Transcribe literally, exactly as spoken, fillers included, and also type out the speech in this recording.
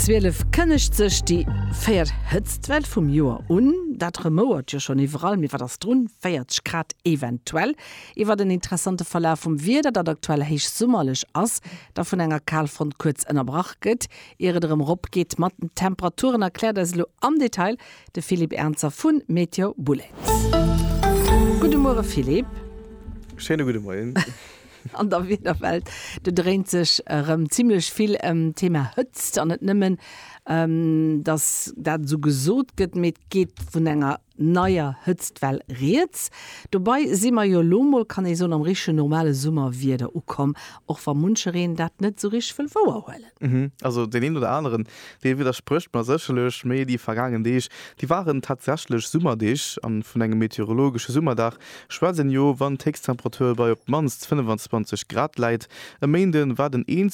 zwielef kënnegt sech déi véiert Hëtztwell vum Joer un. Dat rumouert jo schonn iwwerall, mee wat ass drun? véierzeg Grad eventuell. Iwwer den interessante Verlaf vum Wieder, dat aktuell héichsummerlech ass, da vun enger Kalfront kuerz ënnerbrach gëtt, ier et erëm eropgeet mat den Temperaturen, erkläert eis elo am Detail de Philippe Ernzer vu Meteo Bullet. Gudde Muere Philippe. Schéine gudde Moien. An der Wiederwelt, do dréint sech erëm zimlech vill ëm d'Thema Hëtzt an net nëmmen, dass dat esou gesot gëtt, mee et geet vun enger neier Hëtztwell rieds. Dobei si mer jo elo mol, kann ee soen, am richtegen normale Summerwieder ukomm, och wa munchereen dat net esou richteg wëll wouerhuelen. Also deen een oder aneren, dee widdersprécht mer sécherlech, mee déi vergaangen Deeg, déi waren tatsächlech Summerdeeg. An vun engem meteorologesche Summerdag schwätzt een jo, wann d'Héchsttemperatur bei op d'mannst fënnefenzwanzeg Grad läit. E Méinde war den eenzege.